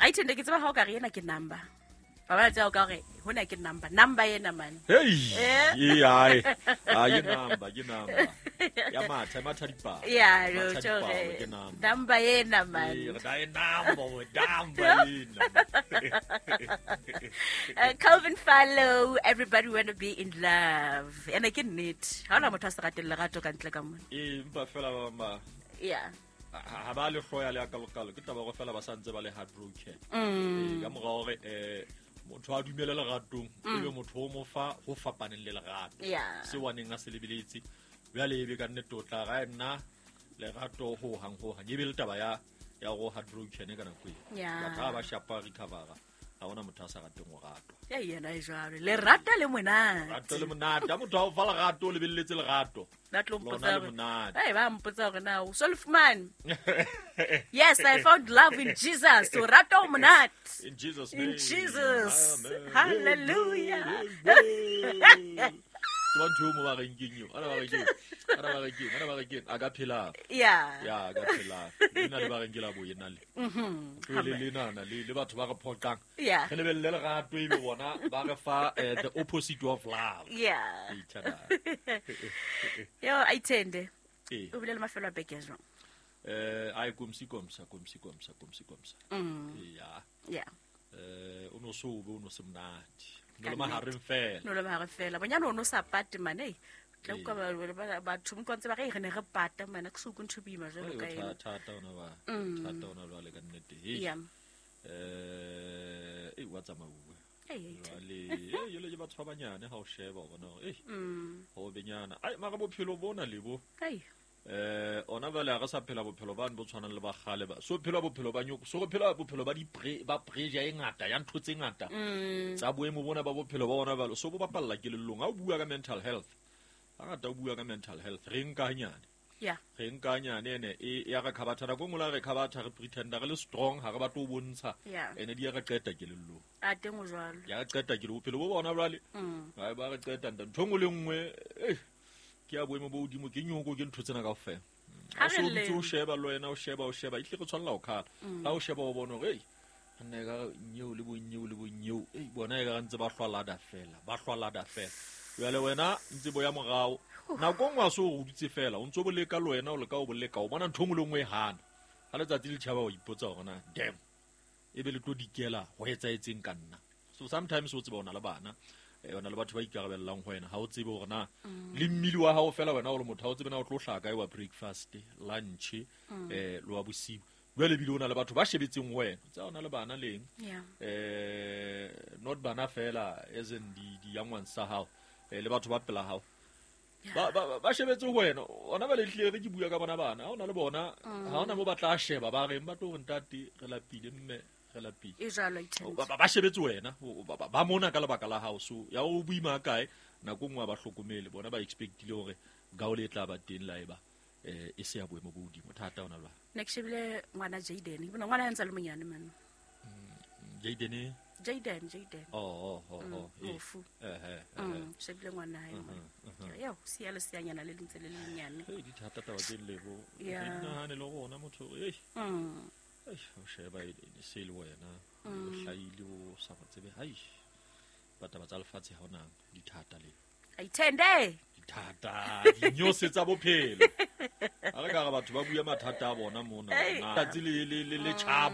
Aithende ke tseba ha o ka re ena ke number. Ba ba tseba o ka re hona ke number. Number ena man. Hey. Eh. Ee, ai. Ah, ke number, ke number. Ya matha, matha dipalo. Yeah, Matha no, dipalo, tjho ke number. Number ena man. Ee, re na e number, we number ena. Calvin Fallow, everybody wanna be in love. Ena ke nnete. Ha hona motho a sa rateng lerato ka ntle ka mona. Ee, empa fela ba bang ba Yeah. ha ba le hloya le akalokalo ke taba go fela ba santse ba le heartbroken. Ee, ka mora hore motho a dumele leratong ebe motho o mo fa ho fapaneng le lerato. Yeah. Seo a neng a se lebeletse. Jwale ebe ka nnete o tla ra nna lerato ho hang ho hang. Ebe le taba ya ya go heartbroken ka nako eo. Yeah. Batho ha ba shapa recover ha hona motho a sa rateng ho ratwa. Ya yena e jwalo. Lerato le monate. Rato le monate. Ha motho a o fa lerato o lebelletse lerato. Ba tlo Lona mpotsa le hore- monate. Hey, ba mpotsa hore na o so le fumane. Yes, I found love in Jesus. O rata o monate. In Jesus In name. Jesus. Amen. Hallelujah. Amen. Tseba ntho eo mo ba reng keng eo. Ana ba reng keng? Ana ba reng keng? Ana ba reng keng? A ka phela. Yeah. Ya, a ka phela. Lena le ba reng ke la boyena le. Tlohele lenana le le batho ba re phoqang. Yeah. Re lebelle lerato ebe bona ba re fa the opposite of love. Yeah. Each other. Yo, Aithende. Ee. O bile le mafelo a beke a jwang? Ai komsi komsa komsi komsa komsi komsa. Ya. Yeah. O no so be o no se monate. No Ka le mahareng fela. No le mahareng fela. Bonyane o no sa pate mane. Ei. Tla Ee. utlwa batho mokwa ntse ba re, "Ei, re ne re pata mane, ke se utlwe ntho e boima jwalo ka ena." Thata ona ba. Thata ona jwale ka nnete. Hei. Yeah. Ei wa tsamauwe. Ei, Aithende. Jwale, ei, jwale ke batho ba banyane ha o sheba o bona hore, ei, ho benyana. Ai, mara bophelo bona le bo. Ei. Ona jwale ha re sa phela bophelo bane bo tshwanang le ba kgale ba. So phela bophelo ba nyoko, so re phela bophelo ba di ba pressure e ngata, ya ntho tse ngata. Tsa boemo bona ba bophelo ba ona jwale, so bo bapalla kelellong. Ha o bua ka mental health, hangata o bua ka mental health, re nka hanyane. Yeah. Re nka hanyane ene e ya re khabatha nako e nngwe le ha re khabatha re pretenda re le strong, ha re batle ho bontsha. Yeah. Ene di ya re qeta kelellong. A teng o jwalo. Ya re qeta ke bophelo bo bona jwale. Hai ba re qeta nta ntho e nngwe le nngwe, ke ya boemo bo hodimo, ke nyoko, ke ntho tsena kaofela. Ha Ha re so o dutse le- o sheba le wena, o sheba, o sheba, ehlile re tshwanela ho khala. Ha o sheba o bona hore, ei, nna ekare nyeo le bonyeo le bonyeo, ei, bona ekare ntse ba hlwa lada fela, ba hlwa lada fela. Jwale wena ntse bo ya morao. Nako e nngwe ha se o dutse fela, o ntso bo leka le wena, o leka o bo leka, o bona ntho e nngwe le nngwe e hana. Ha letsatsi le tjhaba o ipotsa hore na, damn, ebe le tlo dikela ho etsahetseng ka nna. So sometimes o tseba o na le bana, o na le batho ba ikarabellang ho wena, ha o tsebe hore na le mmili wa hao fela wena o le motho, ha o tsebe na o tlo hlaha kae wa breakfast, lunch, le wa bosiu. Jwale ebile o na le batho ba shebetseng ho wena. Tsa o na le bana leng? Yeah. Not bana fela as in di young ones tsa hao, le batho ba pela hao. Yeah. Ba shebetse ho wena. Ona ba le hlile re ke bua ka bona bana. Ha ona le bona, ha ona mo ba tla sheba ba reng, ba tlo re ntate re lapile mme re lapile. E jwalo, Aithende. Ba shebetse wena, ba mona ka lebaka la hao. So ya o boima kae nako nngwe ha ba hlokomele, bona ba expectile hore gaole e tla ba teng la eba e se ya boemo bo hodimo. Thata ona jwale. Ne ke shebile ngwana Jaden. Ke bona ngwana ya ntse a le monyane man. Jaden? Jaden, Jaden. Oh, oh, oh, oh, eh. Mofu. Eh, eh, eh. Shebile ngwana hae mona. Yo, siya le siyanyana le ntse le lenyane. Hey, di thata taba tse lebo. Yeah. Ke nahane le rona motho, ei. Ei, o sheba e se le wena, o hlahile o sa mo tsebe. Hai. Ba taba tsa lefatshe ha ona di thata le. Aithende. Di thata, dinyose tsa bophelo. Ha re ka re batho ba bua mathata a bona mona. Ei. Tsatsi le le le le tjhaba.